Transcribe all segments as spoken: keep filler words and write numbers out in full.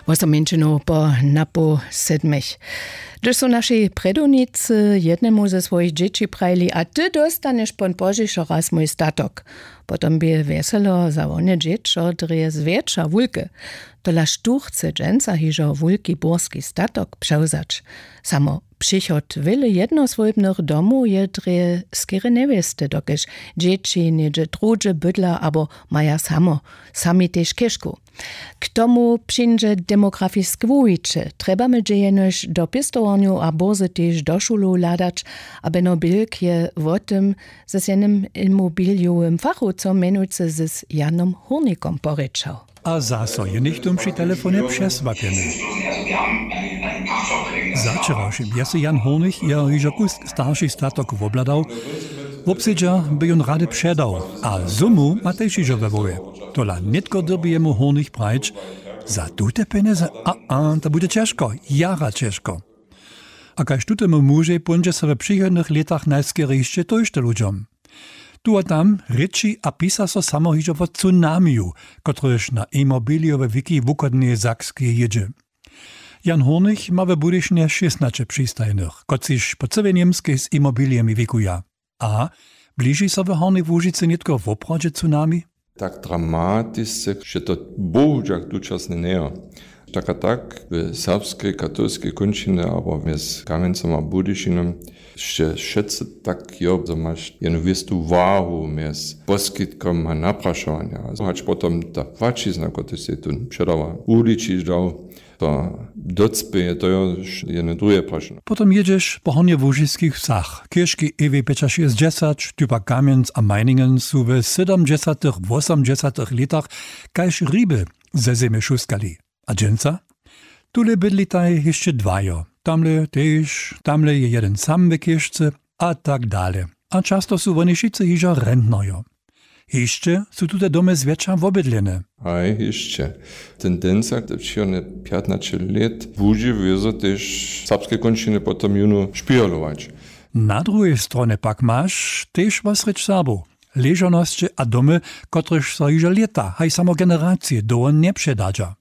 Wosom mjeńšinow po napoł sedmich. Hdyž su našej prjedownicy jednemu ze swojich dźěći prajili: „A ty dóstanješ pon pozdźišo raz mój statok“, potom bě wjeselo za wone dźěćo drje zwjetša wulke. Tola štó chce dźensa hižo wulki burski statok přewzać? Samo přichod wjele jednoswójbnych domow je drje skerje njewěste, dokelž dźěći něhdźe druhdźe bydla abo maja samo sami tež chěžku. K tomu přińdźe demografiske wuwiće. Trjebamy dźe jenož do pěstowarnjow a bórze tež do šulow hladać. A beno bilk je wo tym z jenym imobiliowym fachowcom mjenujcy z janom hurnikom porěčał. A zaso je něchtó při telefonje přesłapjeny. Za wčerawšim je sej jan hurnich jeho hižo kusk starši statok wobhladał. Wobsedźa by jón rady předał, a sumu ma tež hižo we hłowje. Tola nětko dyrbi jemu hurnich prajić: „Za tute pjenjezy a a to budźe ćežko, jara ćežko.“ A kaž tutemu mužej póńdźe so w přichodnych lětach najskerje hišće tójšto ludźom. Tu a tam rěči a pisa so samo hižo wo tsunamiju, kotryž na imobilijowe wiki wuchodneje Sakskej jědźe. Jan hurnich ma w budyšinje šěstnaće přistajenych, kotřiž po cyłej němskej z imobilijemi wikuja. A bliži so w hornjej łužicy nětko woprawdźe tsunami? Tak dramatisce, že to bohudźak tučasnje njejo. Tak a tak w serbskej katolskej kónčinje abo mjez Kamjencom a Budyšinom sće wšetcy tak jo, zo maš jenu wěstu wahu mjez poskitkom a naprašowanja, hač potom ta płaćizna, kotryž sej tón předała, wuličiš dał, to docpěje, to jo jene druhe prašenje. Potom jědźeš po hornjełužiskich wsach. Chěžki ewej pjećašěsćdźesać, typa Kamjenc a Meiningen su w sydomdźesatych wosomdźesatych lětach kaž hriby ze zemje šuskali. A dźensa? Tule bydlitaj hišće dwajo, tamle tež, tamle je jedyn sam w chěžce, a tak dale. A často su woni wšitcy hižo rentnojo. Hišće su tute domy zwjetša wobydlene. Haj, hišće. Tendenca te přichodne pjatnaće lět budźe wězo tež w serbskej kónčinje potom jónu špěhlować. Na druhej stronje pak maš tež wosrjedź Serbow, ležownosće a domy, kotrež so hižo lěta, haj samo generacije dołho njepředadźa.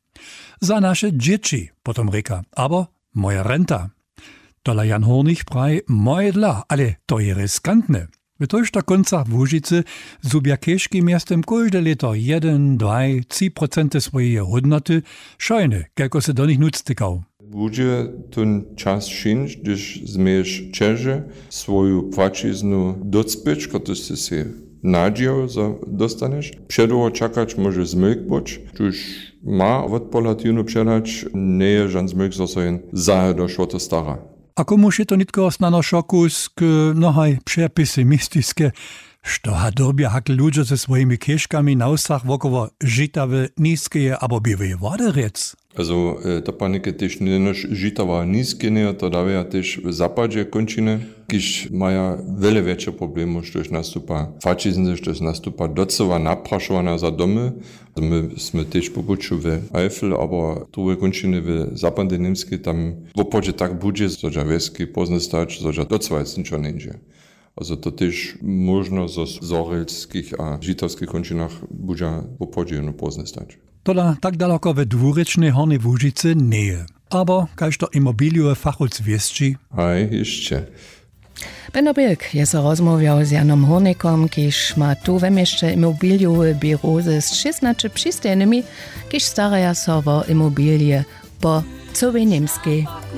Za naše dźěći, potom rěka, abo moja renta. Tola jan hurnich praji: „Moje dla, ale to je riskantne.“ W tójšto kóncach łužicy zhubja chěžki mjeztym kóžde lěto jedyn dwaj tři procenty swojeje hódnoty, wšojne, kelko sy do nich nutř tykał. Budźe tón čas přińć, hdyž změješ ćeže swoju płaćiznu docpěć, kotryž sy sej nadźijał, zo dostanješ. Předołho čakać móže zmylk być, tuž ma wotpohlad jónu předać, njeje žan zmylk, zo so jen zahe došło to stara. A komuž je to nětko snano šokusk, no haj, přepesimistiske? Što ha dyrbja hakle ludźo ze swojimi chěžkami na wsach wokoło Žitawy, Niskeje abo Běłeje Wody rjec? Also, to panike tež njenož Žitawa, Niske njejo, to dawja tež w zapadźe kónčiny, kiž maja wjele wjetše problemy, štož nastupa płaćizny, štož nastupa docyła naprašowanja za domy. My smy tež po puću w Eifel abo druhej kónčiny w zapadnej Němskej, tam woprawdźe tak budźe, zo dźa wjeski pózdy stać, zo dźa docyła nic njeńdźe. Also to tež móžno zo w zhorjelskich a žitawskich kónčinach budźa woprawdźe jónu pózdy stać. Tola tak daloko we dwurěčnej Hornjej Łužicy njeje. Abo kaž to imobilijowy fachowc wěsći? Haj, hišće. Beno Bilk je so rozmołwjał z Janom Hurnikom, kiž ma tu we měsće imobilijowe běrow ze šěstnaće přistajenymi, kiž staraja so wo imobilije po cyłej Němskej.